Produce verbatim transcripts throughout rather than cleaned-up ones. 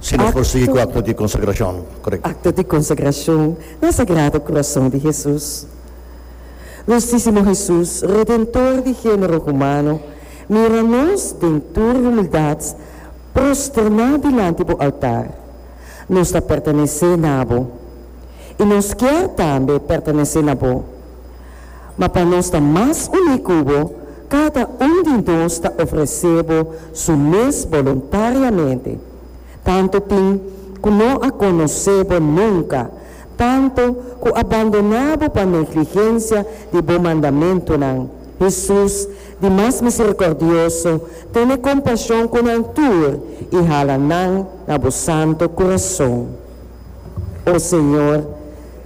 Si nos por sigui ku akto di konsagrashon, korekto. Akto di konsagrashon na Sagrado Kurason di Hesus. Dulsísimo Hesus, Redentor di género humano, mira nos den tur humildat prosterná dilanti bo altar. Nos ta pertenesé na bo, i nos kier tambe pertenesé na bo. Ma pa nos ta mas uní ku bo, kada un di nos ta ofresé bo su mes boluntariamente. Tantu tin ku no a konosé bo nunka, tantu ku a bandoná bo pa negligensia di bo mandamentunan. Hesus, di mas miserikòrdioso, tene kompashon ku nan tur i hala nan na bo santu kurason. O Señor,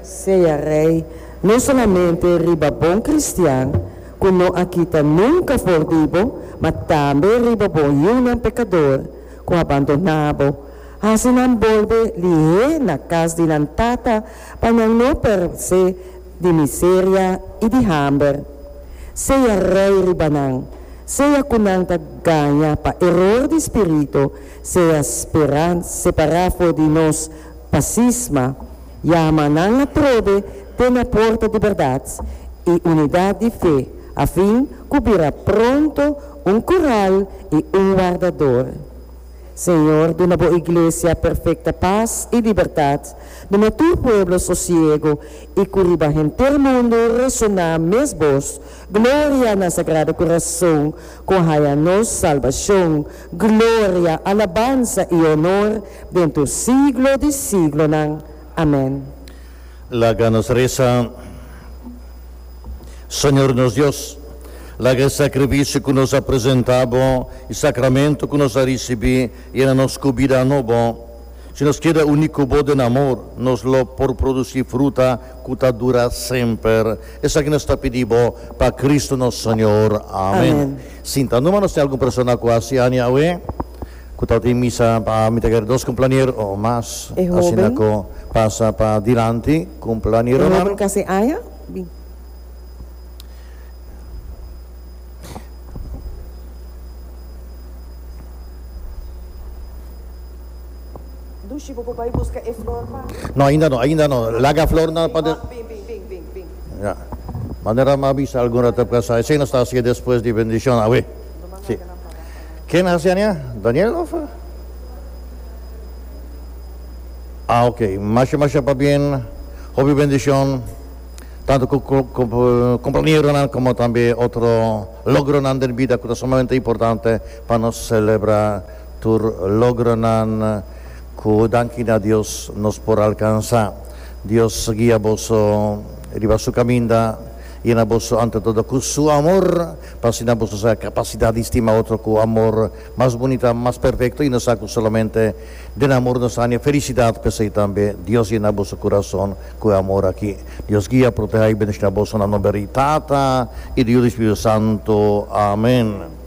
sea Rei no solamente riba bon kristian ku no a kita nunka for di bo, ma tambe riba bo yunan pekador ku a bandoná bo. Hasi nan bolbe lihé na kas di nan tata pa nan no peresé di miseria i di hamber. Sea Rei riba nan, sea ku nan ta gaña pa eror di spiritu, sea separá for di nos pa sisma, yama nan atrobe te na porta di bèrdat i unidat di fe, afin ku bira pronto un kural i un wardador. Señor, duna bo iglesia perfekta pas i libertat, duna tur pueblo sosiego i ku riba henter mundu resoná mes bos, Gloria na Sagrado Kurason ku haya nos salbashon, gloria, alabansa i honor den tur siglo di siglonan. Amèn. Laga nos resa. Señor nos Dios, laga e sakrifisio ku nos a presentá Bo i sakramento ku nos a risibí yena nos ku bida nobo. Si nos keda uní ku Bo den amor, nos lo por produsí fruta ku ta dura semper. Esaki nos ta pidi Bo pa Cristo nos Señor. Amen. Sinta numa nos tin algun persona ku hasi aña awe ku tabatin misa pa mi ta kere dos kumplanier o mas E asina hoben. ku pasa pa dilanti E kumplanieronan. hoben kasi aña? Bin. Dushi, bo por bai buska e flor pa. No, ainda no, ainda no. Laga flornan pa de. Bin, bin, bin, bin, bin. Ya. Manera mi a bisa algun rato pasá, esei nos ta hasié despues di bendishon awe. Sí. Ken hasi aña? Daniel of? Ah, ok. Masha, masha pabien. Hopi bendishon. Tantu ku kompañeronan komo tambe otro logronan den bida ku ta sumamente importante pa nos selebrá tur logronan ku danki na Dios nos por alkansá. Dios guia boso riba su kaminda. Yena boso ante todo ku su amor, pa asina boso sa kapasidat di stima otro ku amor mas bunita, mas perfekto, i nos sa ku solamente den amor nos haña felisidat. P'esei tambe Dios yena boso kurason ku e amor aki. Dios guia, protehá i bendishoná boso na nomber di Tata i di Yu di Spiritu Santu. Amen.